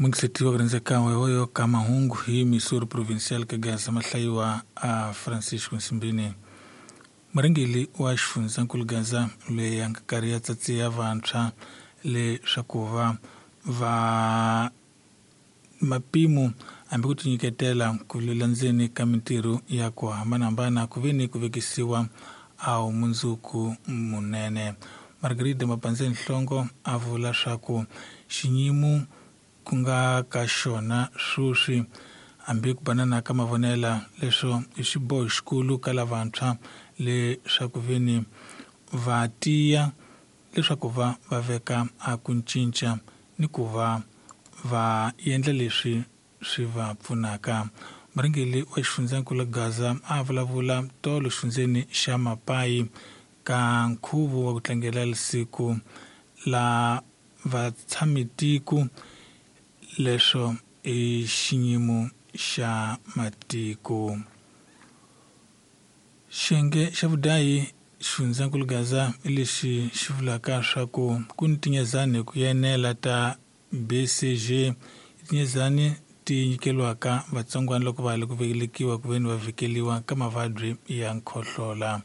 Mungiseti wa ku rhandzeka wewoyo ka mahungu hi Missouri Provincial ka Gaza mahlayiwa a Francisco Nsimbini. Murhangeri wa xifundzankulu Gaza loyi a nga karhi ya tsatsiya vantshwa leswaku va va mapimo hambi ku tinyiketela ku landzeni ka mintirho ya ku hambanahambana ku ve ni ku vekisiwa a mundzuku munene. Margarida Mapandzeni Nhlongo a vula swa ku xiyimo ku nga ka xona sweswi hambi ku banana ka mavonela leswo i xiboho xikulu ka lavantshwa leswaku veni va tiya leswaku va va veka a ku cinca ni ku va va endla leswi swi va pfunaka. Murhangeri wa xifundzankulu Gaza a vulavula tolo xifundzeni xa Mapai ka nkhuvo wa ku tlangela siku la vatshamitiko leswo i xiyimo xa matiko. Xiyenge xa vudayi xifundzankulu Gaza i lexi xi vulaka swa ku ku ni tinyezani ku yenela ta BCG tinyezani ti nyikeriwaka vatsongwana loko va ha ri ku velekiwa ku veni va vhikeliwa ka mavabyi ya nkhohlola.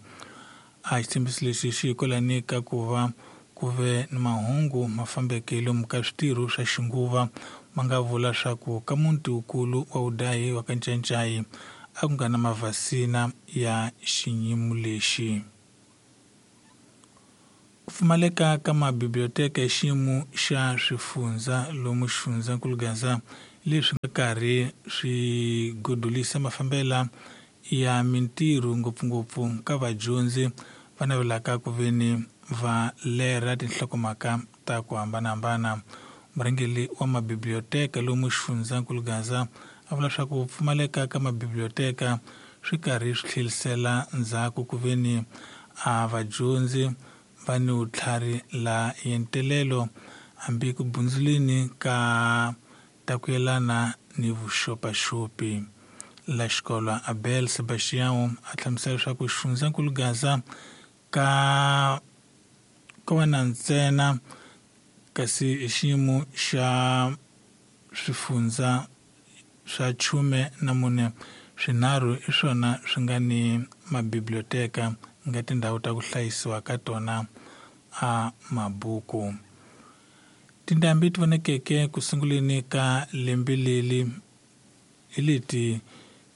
A xitshembiso lexi xi hikwalani ka ku va ku ve ni mahungu ma fambeke lomu ka switirho swa xinguva ma nga vula swa ku ka muti wukulu wa vudayi wa ka Ncancai a ku nga na mavhasina ya xiyimo lexi. Ku pfumaleka ka mabiblioteka hi xiyimo xa swifundza lomu xifundzankulu Gaza leswi nga karhi swi godolisa mafambela ya mintirho ngopfungopfu ka vadyondzi va navelaka ku veni va lera tinhlokomhaka ta ku hambanahambana. Murhangeri wa mabiblioteka lomu xifundzankulu Gaza a vula swa ku pfumaleka ka mabiblioteka swi karhi swi tlherisela ndzhaku ku veni a vadyondzi va ni vutlhari la yentelelo hambi ku bundzuleni ka ta ku yelana ni vuxopaxopi. La xikolo Abel Sebastião a hlamusela leswaku xifundzankulu Gaza ka ko va na ntsena kasi i xiyimo xa swifundza swa 14 swinharhu i swona swi nga ni mabiblioteka nga tindhawu ta ku hlayisiwa ka tona a mabuku. Tindhambi ti vonekeke ku sunguleni ka lembe leri hi leti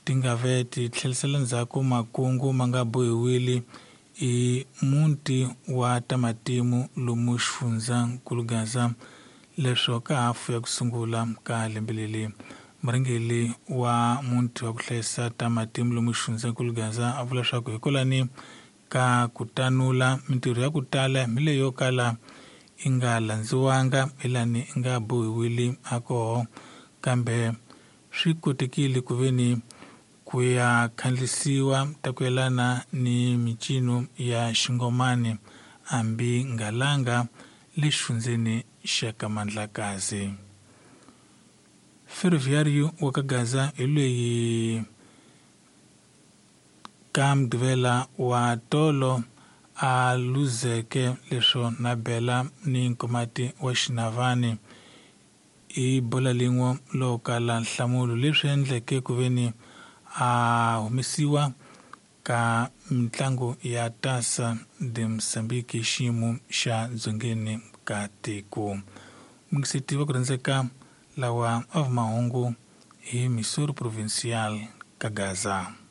ti nga ve ti tlherisela ndzhaku makungu ma nga bohiwile i muti wa tamatimu lomu xifundzankulu Gaza leswo ka hafu ya ku sungula ka lembe leri. Murhangeri wa muti wa ku hlayisa tamatimu lomu xifundzankulu Gaza a vula swa ku hikwalani ka ku tanula mintirho ya ku tala mi leyo kala i nga landziwanga hilani i nga bohiwile a koho kambe swi kotekile ku veni ku ya khandlisiwa ta ku yelana ni mincino ya xingomani hambi ngalanga le xifundzeni xa ka Mandlakazi. Ferroviário wa ka Gaza hi loyi ka Mugqivela wa tolo a luzeke leswo na bela ni nkomati wa Xinavani i bola lin'we lo kala nhlamulo leswi endleke ku veni a humesiwa ka mitlangu ya Taça de Moçambique xiyimo xa dzongeni ka tiko. Mungiseti wa ku rhandzeka lawa a mahungu hi Missouri Provincial ka Gaza.